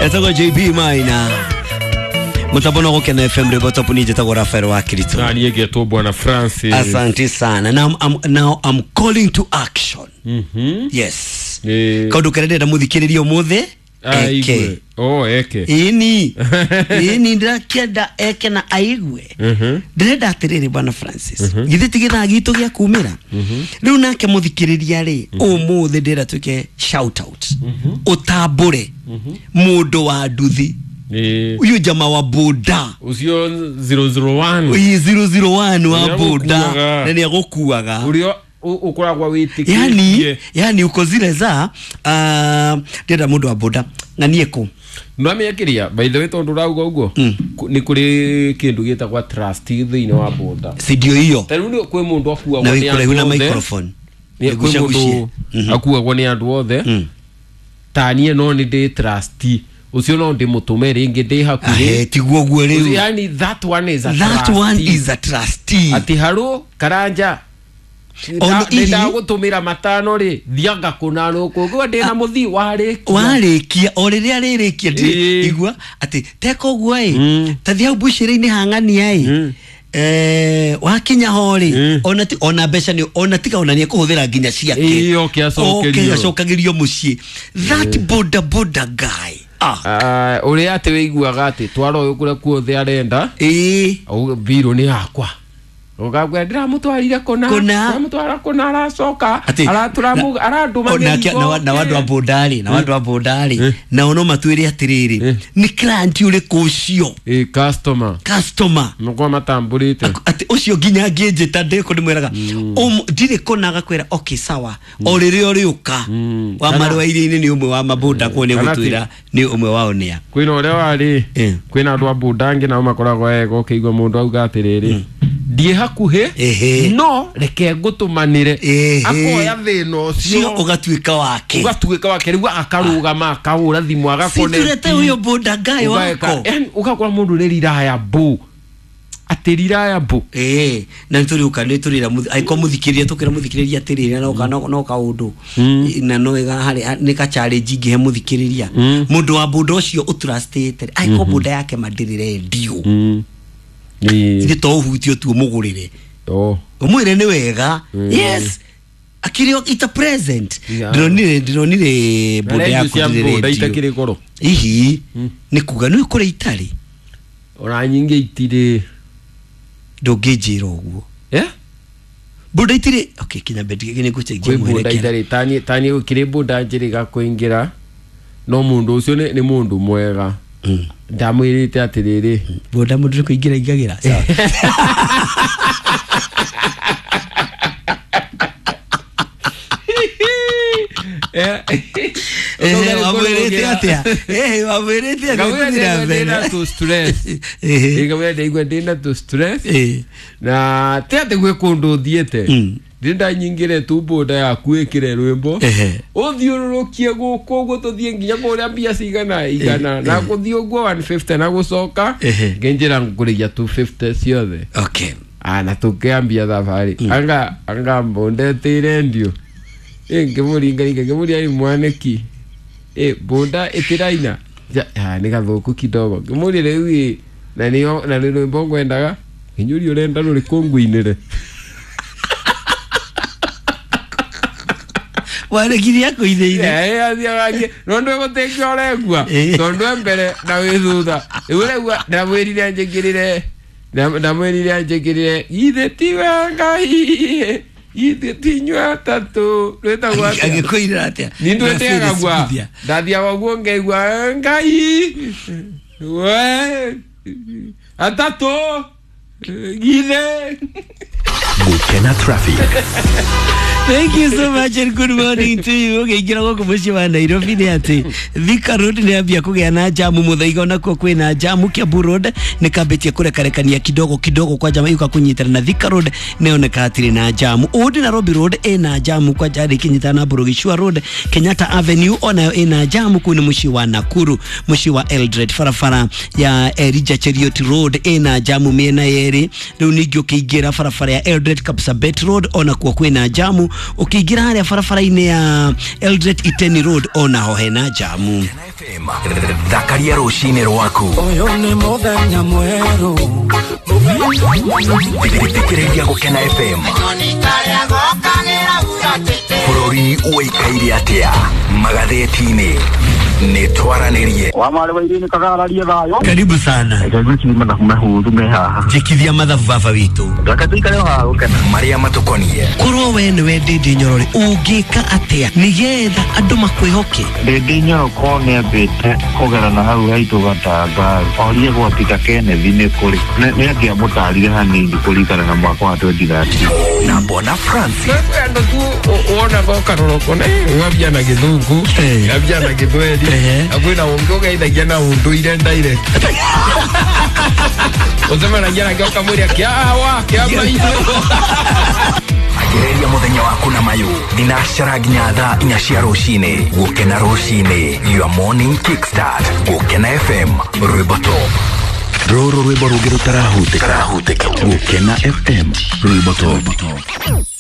Etagwo JB Maina. Mutabona gukena FM rebo top ni jetagwo Rafael wa Kirito. Na niĩ ngetwo Bwana Francis. Asante sana. Now I'm calling to action. Yes. Kaundu karia ndĩrenda mũthikĩrĩria ũmũthĩ eke. Aigue. Oh, eke. Ĩni ĩni, ndĩrakĩenda eke na aigue. Ndĩrenda atĩrĩrĩ, Bwana Francis, githĩ ti gĩthaa gitũ gĩa kumĩra rĩu nake mũthikĩrĩria rĩ, ũmũthĩ ndĩrenda twĩke shout out, ũtambũre mũndũ wa nduthi, ũyũ jama wa boda. Ũcio 001. Ĩĩ, 001 wa Ũrĩa boda. agũkuaga. Na nĩ agũkuaga. Ũrĩa ũkoragwo wĩtĩkĩtie. Yani uko zile za ndĩrenda mũndũ wa boda ng'anie kũ. Nwamĩakĩria, by the way, tondũ ũrauga ũguo, nĩ kũrĩ kĩndũ gĩtagwa trust thĩinĩ wa boda. Sindio hiyo? Ta rĩu kwĩ mũndũ akuagwo Na nĩ wĩ kũraihu andũ na othe. microphone. Kwĩ Nĩgucagucie. mũndũ akuagwo nĩ andũ othe. Ta niĩ no nĩ ndĩ trust ũcio, no ndĩmũtũme rĩngĩ ndĩ hakuhĩ. Ahe, tiguo guo rĩu. Yani that one is a That one trustee. is a trustee. Atĩ harũ karanja, Ona nĩ ndagũtũmĩra 5 rĩ, thianga kũna nũkũngua ndĩna mũthii warĩkia. Warĩkia o rĩrĩa rĩrĩkia. Igua atĩ teka ũguo ĩ, tathi hau mbucĩrĩ-inĩ hang'ania ĩ. Wakinya ho rĩ, ona ti ona mbeca nĩ ona tiga ona nĩ ekũhũthĩra nginya ciake. Ĩĩ, oke acokerio. Oke acokagĩrio mũciĩ, that boda boda guy, ah. Ah, ũrĩa atĩ wĩiguaga atĩ twara ũyũ kũrĩa kuothe arenda. Mbirũ nĩ yakwa, ũgakwĩra ndĩramũtwarire kũna. Kũna. Ndĩramũtwara kũna, aracoka. Atĩ- Arandũma Onake- mĩrigo. na na andũ a boda-rĩ, na andũ a boda-rĩ, nao no matwĩre atĩrĩrĩ, nĩ client ũrĩkũ ũcio? Ĩĩ, customer. Customer. Nĩkwa matambũrĩte. Atĩ ũcio nginya angĩnjĩta ndĩkũ ndĩmwĩraga, ndirĩ kũna," agakwĩra, "Okay, sawa," o rĩrĩa ũrĩũka wa marũa iria-inĩ nĩ ũmwe wa maboda kuo nĩ Kana gũtwĩra nĩ ũmwe wao nĩa. Kwĩna ũrĩa warĩ, kwĩna andũ a boda angĩ nao makoragwo ega, ũkĩigua mũndũ auga atĩrĩrĩ, "Ndiĩ hakuhĩ, no reke ngũtũmanĩre." Akoya thĩna cio, ũcio, ũgatuĩka wake. Ũgatuĩka wake rĩu, akarũgama, akahũra thimũ, Siturete ũyũ boda guy wako. Yani ũgakora mũndũ nĩ reliable, atĩ reliable. Ĩĩ, na nĩtũrĩũka nĩtũrĩra angĩkorwo mũthikĩrĩria, tũkĩra mũthikĩrĩria atĩrĩrĩ, no kaũndũ na no ĩga harĩ nĩ ka challenge ingĩhe mũthikĩrĩria, mũndũ wa boda ũcio ũtrustĩte, angĩkorwo boda yake ma ndĩrĩ rendio, ithe to ũhutio tu ũmũgũrĩre, ũmwĩre nĩ wega, yes, akĩrĩ ita present. Ndĩronire boda Na rendio yaku cia ndĩrĩ boda rendio. itakĩrĩ goro. Ihi nĩ kuga nĩ kũrĩ itarĩ. Ona nyingĩ itirĩ. Ndũngĩnjĩra ũguo. Eh? Boda itirĩ, okay, kinya bendi nĩ ngũcenjia Kwĩ boda mwerekera. itarĩ. Tani gũkĩrĩ boda njĩrĩga kũingĩra, no mũndũ ũcio nĩ mũndũ mwega, ndamwĩrĩte atĩrĩrĩ. Boda mũndũ nĩ kũingĩra ingagĩra. Sawa. Ehe, wamwĩrĩte atĩa? Ehe, wamwĩrĩte atĩa? Ngamwĩra Tũthiĩ na ndaigua mbere. ndĩna tũ stress. Ngamwĩra ndaigua ndĩna tũ stress, na ti atĩ gwĩ kũndũ thiĩte, ndĩrenda nyingĩre tu boda yaku, ĩkĩre rwĩmbo, ũthiũrũrũkie gũkũ ũguo, tũthiĩ nginya kũrĩa, mbia cigana 100, na gũthiĩ ũguo 150, na gũcoka. Ngĩnjĩra ngũrĩgia 250 ciothe. Ah, na tũkĩambia thabarĩ, anga mbũndetĩire ndio ĩ, ngĩmũringaringa, ngĩmũria, "Ĩ mwanĩki, ĩ bũnda ĩtĩraina?" Ah, nĩ gathũku kidogo. Ngĩmũria, "Rĩu ĩ, na nĩyo na nĩ rwĩmbo ngwendaga?" Ngĩnyũria, "Ũrenda rũrĩkũ ngũinĩre?" Warekirie akũithĩire. Athiaga no ndwe gũtĩkia ũregua, tondũ e mbere na wĩ thutha rĩu ũregua. Ndamwĩrire anjĩkĩrĩre "Githĩ tiwe Ngai, githĩ ti inyuĩ atatũ", rwĩtagwo atĩa? Agĩkũirĩra atĩa? Ni ndwĩteaga gua. Sikuthia. Ndathiaga ũguo ngaigua "Ngai we atatũ githĩ". Gukena Traffic. Thank you so much and good morning to you. Ũkĩingĩra gũkũ mũciĩ wa Nairobi nĩ atĩ Thika Road nĩ ambia kũgĩa na jamu, Muthaiga onakuo kwĩna jamu, Kiambu Road nĩ kambĩtie kũrekarekania kidogo kidogo kwa jama yuka kũnyitana na Thika Road nĩoneka hatirĩ na jamu. Old Nairobi Road ĩna jamu kwa jari ikinyitana na Burugishua Road, Kenyatta Avenue onayo ĩna jamu. Kũu nĩ mũciĩ wa Nakuru, mũciĩ wa Eldoret, barabara ya Elijah Cheruiyot Road ĩna jamu mĩena yerĩ. Rĩu ningĩ ũkĩingĩra barabara ya Eldoret Kapsabet Road onakuo kwĩna jamu. Ũkĩingĩra harĩa barabara-inĩ ya Eldoret Iten Road onaho hena jamu. FM thakaria rũcinĩ rwaku. Ũyũ nĩ mũthenya mwerũ. Thikĩrĩria Gũkena FM. Bũrũri ũikaire atĩa magathĩti-inĩ? Nĩ twaranĩrie. Wa marĩ wa irini kagararie thayũ. Karibu sana. Reke mathabu mahũthũ me haha. Njĩkithia mathabu baba witũ. Reke tũikare o haha gũkena. Marĩa matũkonie. Korwo we nĩwe Ndĩndĩ Nyorore, ũngĩka atĩa nĩgetha andũ makwĩhoke? Ndĩndĩ Nyoroko nĩambĩte kũgera na hau haitũ gatanga orie gwa Peter Kenneth nĩ kũrĩ. Nĩ angĩamũtarire hanini kũringana na mwaka wa 2013. Na Bona Francis. Andå tu wonaga ũkarora ũkona ng'ambia na gĩthũngũ, ng'ambia na gĩthweri, na kwĩna ũngĩ ũgeithagia na ũndũire direct, ũcemanagia nake ũkamwĩra kĩawa kĩa maitũ. Ambĩrĩria mũthenya waku na mayũ thinacara nginya thaa 4 cia rũcinĩ. Gũkena rũcinĩ, your morning kickstart. Gũkena FM, rwĩmbo top. Rũrũ rwĩmbo rũngĩ rũtarahutĩka. Gũkena FM, rwĩmbo top.